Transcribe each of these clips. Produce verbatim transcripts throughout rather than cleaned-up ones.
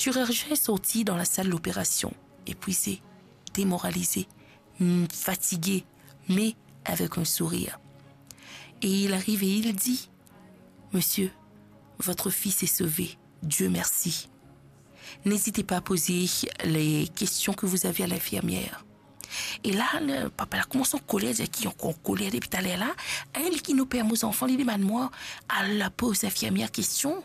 Chirurgien est sorti dans la salle d'opération, épuisé, démoralisé, mm, fatigué, mais avec un sourire. Et il arrive et il dit : « Monsieur, votre fils est sauvé. Dieu merci. N'hésitez pas à poser les questions que vous avez à l'infirmière. » E la, le papa la koumans an koler, dir ki ankor an koler depi taler la. Hein, li ki nou permet zanfan, li demann mwa al poz linfirmier kestion.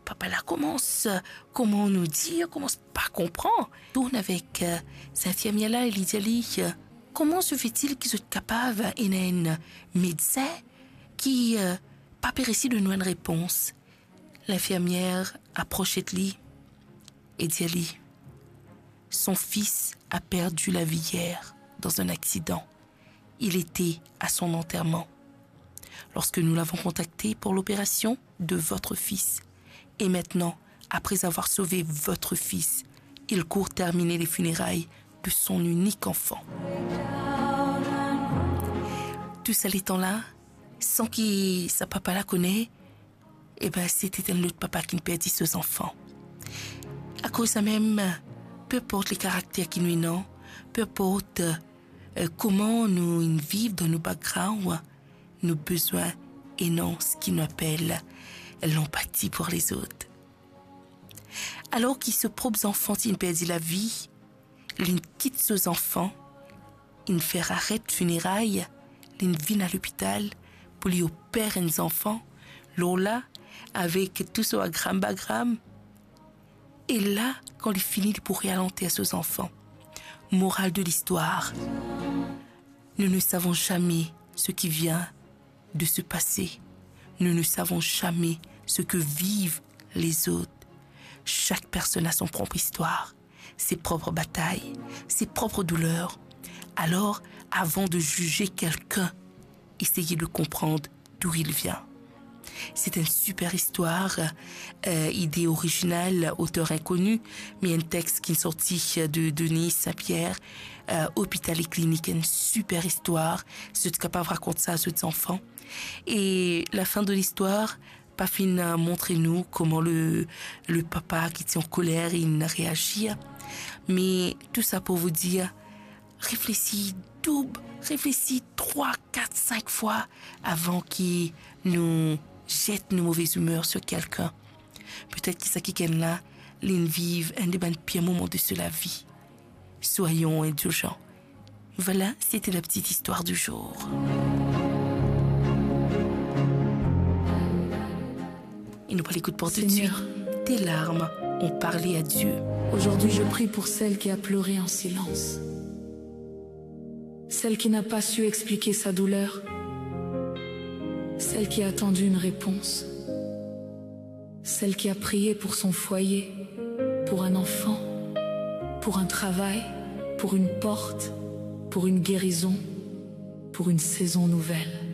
Papa la koumans, kouma nou dir, koumans pa konpran. Tourn avek, euh, linfirmier la, li dir li, euh, « Comment se fait-il ki zot kapav ena enn medsin ki, euh, pa pe resi donn nou enn repons ? » Linfirmier apros li e dir li : « Son fils a perdu la vie hier dans un accident. Il était à son enterrement lorsque nous l'avons contacté pour l'opération de votre fils. Et maintenant, après avoir sauvé votre fils, il court terminer les funérailles de son unique enfant. » Tou sa letan la, san ki sa papa la kone, e ben, se ti enn lot papa ki perdi so zanfan. Akoz samem, pe inport le karakter ki nou ena, pe inport, euh, kouma nou inn viv dan nou background, nou bizin ena seki nou apel lanpati pou lezot. Alor ki so prop zanfan ti inn perdi lavi, linn kit so zanfan, inn fer aret fineray, linn vinn a lopital pou li oper enn zanfan, lor la, avek tou so agram bagram. E la, kan li fini, li pou re al anter so zanfan. Morale de l'histoire : nous ne savons jamais ce qui vient de se passer. Nous ne savons jamais ce que vivent les autres. Chaque personne a son propre histoire, ses propres batailles, ses propres douleurs. Alors, avant de juger quelqu'un, essayez de comprendre d'où il vient. C'est une super histoire, euh, idée originale, auteur inconnu, mais un texte ki sorti de Denise Saint-Pierre, euh, Hôpital et Clinique, une super histoire. Si zot kapav rakont sa a zot zanfan. E lafin de listwar pa finn montre nou kouma le, le papa ki ti an koler, inn reazir. Me tou sa pou vous dire, reflesi doub, reflesi trwa, kat, sink fwa avan ki nou zet nou move zimer sur kelkenn. Petet ki sa kikenn la, linn viv enn de bann pir moman de so lavi. Soyons indulgents. Voilà, c'était la petite histoire du jour. Et nous allons écouter pour tout de suite. Seigneur, tes larmes ont parlé à Dieu. Aujourd'hui, je prie pour celle qui a pleuré en silence, celle qui n'a pas su expliquer sa douleur, celle qui a attendu une réponse, celle qui a prié pour son foyer, pour un enfant, pour un travail, pour une porte, pour une guérison, pour une saison nouvelle.